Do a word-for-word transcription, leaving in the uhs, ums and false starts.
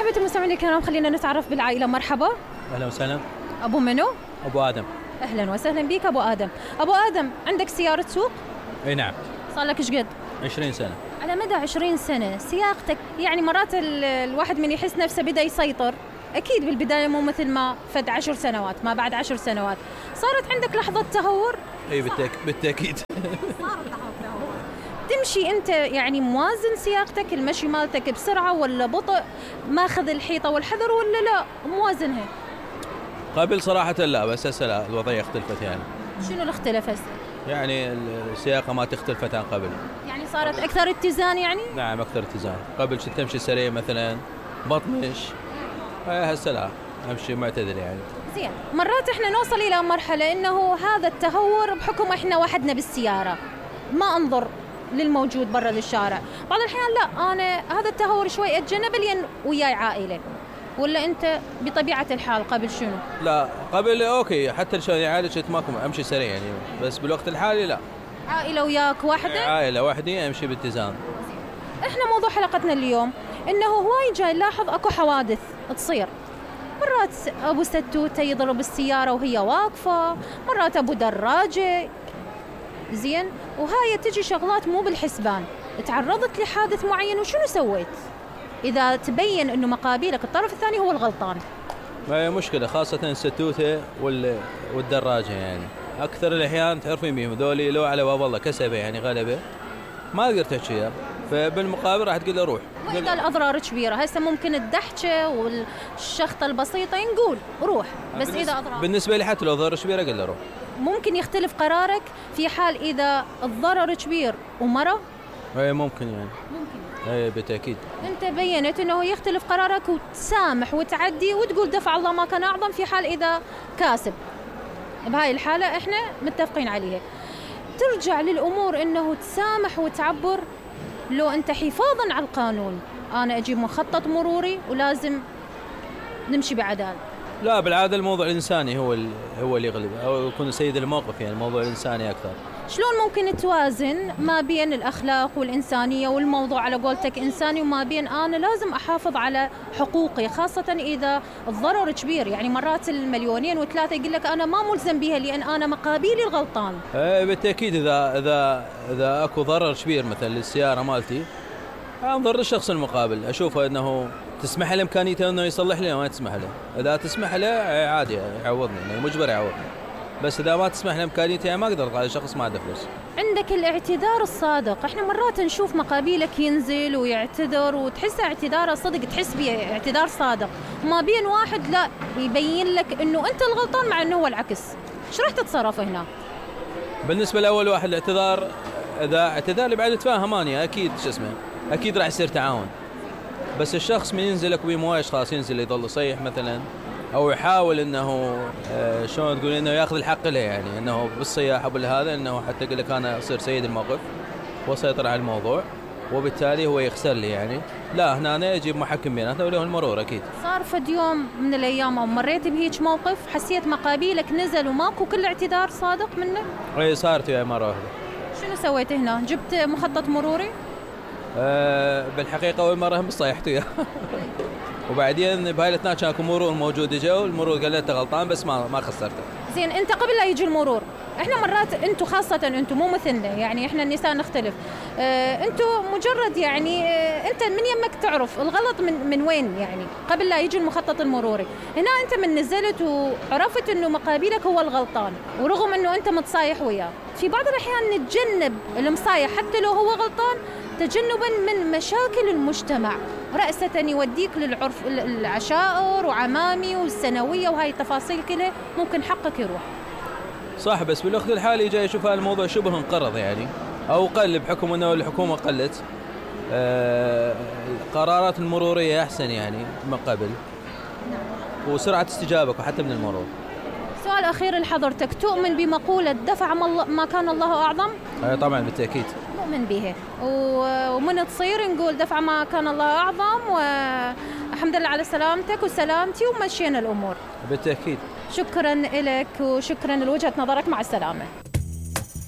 مرحبا المستمعين الكرام، خلينا نتعرف بالعائلة. مرحبا. أهلا وسهلا. أبو منو؟ أبو آدم. أهلا وسهلا بك أبو آدم. أبو آدم، عندك سيارة سوق؟ أي نعم. صار لك ايش قد؟ عشرين سنة. على مدى عشرين سنة سياقتك، يعني مرات الواحد من يحس نفسه بدأ يسيطر، أكيد بالبداية مو مثل ما فد عشر سنوات، ما بعد عشر سنوات صارت عندك لحظة تهور؟ أي بالتأك... بالتأكيد. صارت لحظة تهور. تمشي أنت يعني موازن سياقتك، المشي مالتك بسرعة ولا بطء، ماخذ الحيطة والحذر ولا لا موازنها؟ قبل صراحة لا، بس هسه لا، الوضعية اختلفت يعني. شنو اللي اختلف هسه؟ يعني السياقة ما تختلفت عن قبل. يعني صارت أكثر اتزان يعني؟ نعم أكثر اتزان. قبل كنت تمشي سريع مثلا بطمش، هسه لا، أمشي معتدل يعني. زين، مرات احنا نوصل إلى مرحلة إنه هذا التهور بحكم احنا وحدنا بالسيارة، ما انظر للموجود برا للشارع. بعض الأحيان لا، أنا هذا التهور شوي أتجنب لين وياي عائلة. ولا أنت بطبيعة الحال قبل شنو؟ لا قبل أوكي، حتى لشان يعالج كنت ماكو أمشي سريع يعني، بس بالوقت الحالي لا. عائلة وياك واحدة؟ عائلة وحدي أمشي باتزان. احنا موضوع حلقتنا اليوم إنه هواي جاي نلاحظ أكو حوادث تصير، مرات أبو ستوتة يضرب السيارة وهي واقفة، مرات أبو دراجة. زين، وهاي تجي شغلات مو بالحسبان. تعرضت لحادث معين وشنو سويت إذا تبين إنه مقابلك الطرف الثاني هو الغلطان؟ ما هي مشكلة، خاصة الستوتة وال... والدراجة يعني أكثر الأحيان تعرفين بيهم ذولي، لو على باب الله كسبة يعني غلبة ما تقدر تحكيها، فبالمقابل راح تقول له روح. وإذا الأضرار كبيرة هسه ممكن الدحشة والشخطة البسيطة نقول روح، بس بالنسبة إذا أضرار بالنسبة لي حتى لو ضرر كبيرة قل له روح. ممكن يختلف قرارك في حال إذا الضرر كبير ومرة؟ اي ممكن يعني. ممكن. اي بالتأكيد. أنت بينت إنه يختلف قرارك وتسامح وتعدي وتقول دفع الله ما كان أعظم في حال إذا كاسب. بهاي الحالة إحنا متفقين عليها. ترجع للأمور إنه تسامح وتعبر لو أنت حفاظاً على القانون. أنا أجيب مخطط مروري ولازم نمشي بعدالة. لا بالعادة الموضوع الإنساني هو هو اللي يغلب أو يكون سيد الموقف، يعني الموضوع الإنساني أكثر. شلون ممكن توازن ما بين الأخلاق والإنسانية والموضوع على قولتك إنساني، وما بين أنا لازم أحافظ على حقوقي، خاصة إذا الضرر كبير؟ يعني مرات المليونين وثلاثة يقول لك أنا ما ملزم بها لأن أنا مقابيلي الغلطان. اي بالتأكيد. إذا إذا إذا أكو ضرر كبير مثلا للسيارة مالتي أنظر للشخص المقابل، أشوفه أنه تسمح له إمكانيته أنه يصلح لي، ما تسمح له. إذا تسمح له عادي يعوضني، يعني مجبر يعوضني. بس إذا ما تسمح له إمكانيته يعني ما أقدر على شخص ما عنده فلوس. عندك الاعتذار الصادق. احنا مرات نشوف مقابيلك ينزل ويعتذر وتحس اعتذاره صدق، تحس به اعتذار صادق، ما بين واحد لا يبين لك انه انت الغلطان مع انه هو العكس. ايش راح تتصرف هنا؟ بالنسبة لأول واحد الاعتذار، إذا اعتذار لي بعد اتفاهم أنا أكيد شو اسمه أكيد راح يصير تعاون. بس الشخص من ينزل لك بمواش خلاص ينزل يضل يصيح مثلا، أو يحاول إنه آه شلون تقول إنه يأخذ الحق له، يعني إنه بالصياح وبالهذا إنه حتى يقول لك أنا أصير سيد الموقف وسيطر على الموضوع، وبالتالي هو يخسر لي يعني. لا هنا أنا أجيب محكم بيناتنا وله المرور أكيد. صار فد يوم من الأيام أو مريت بهيج موقف حسيت مقابيلك نزل وماكو كل اعتذار صادق منه؟ أي صارت وياي مرة واحدة. شنو سويت هنا؟ جبت مخطط مروري؟ أه بالحقيقة أول مرة هم صيحت وياه. وبعدين بهاي الاثناء كان اكو مرور موجود، اجوا المرور قال له انت غلطان بس ما ما خسرته. زين، انت قبل لا يجي المرور، احنا مرات انتم خاصه انتم مو مثلنا، يعني احنا النساء نختلف. اه انتم مجرد يعني اه انت من يمك تعرف الغلط من من وين، يعني قبل لا يجي المخطط المروري. هنا انت من نزلت وعرفت انه مقابلك هو الغلطان، ورغم انه انت متصايح وياه. في بعض الاحيان نتجنب المصايح حتى لو هو غلطان تجنبا من مشاكل المجتمع، رأسة يوديك للعرف العشائر وعمامي والسنوية وهاي التفاصيل كلها ممكن حقك يروح. صح، بس بالوقت الحالي جاي أشوف هذا الموضوع شبه انقرض يعني، أو قل بحكم أنه الحكومة قلت آه القرارات المرورية أحسن يعني من قبل، وسرعة استجابك وحتى من المرور. سؤال أخير لحضرتك، تؤمن بمقولة دفع ما كان الله أعظم؟ أي طبعا بالتأكيد مؤمن بها، ومن تصير نقول دفع ما كان الله أعظم، والحمد لله على سلامتك وسلامتي ومشينا الأمور. بالتأكيد. شكرا لك وشكرا لوجهة نظرك، مع السلامة.